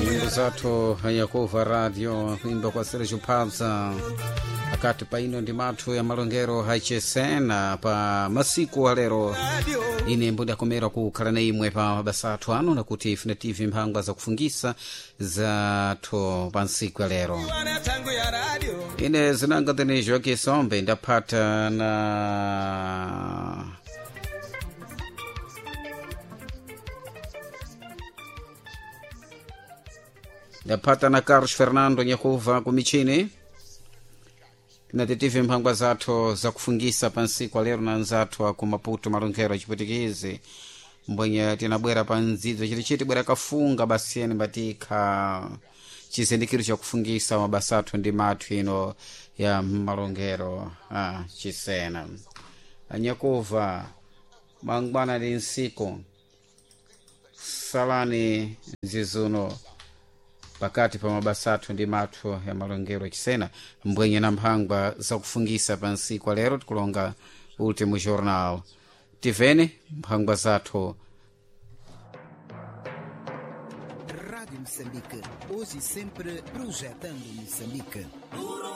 Nyimbo zathu yakuva radio kuimba kwa Sergio Pabza akati paino ndi mathu ya malongero hachesena pa masiku alero. Ine mbundakomera kukhala na imwe pa mabasa athu ano nakuti ifuna tv mphangwa zakufungisa zathu pa nsiku ya lero. Ine zinanga tene Joaquim Sombe ndaphata na ndaphata na Carlos Fernando Nyakuva kumichini. Tinatitive mphangwa zathu zakufungisa pa nsiku alero na nzathu aku Maputo malonkhero achipwitikizi mbwenye tinabwera pa ndzidzo chitichiti bwera kafunga basiyeni mbatikha chizindikiro chakufungisa mabasa athu ndi mathu ino ya malongero a chisena. Anyakuva, mangwana ndi nsiku salani nzizuno pakati pa mabasa athu ndi mathu ya malongero achisena mbwenye na mphangwa zakufungisa pa nsiku alero. Tikulonga Ultimo Jornal tivene mphangwa zathu. Rádio Moçambique, hoje e sempre projetando Moçambique.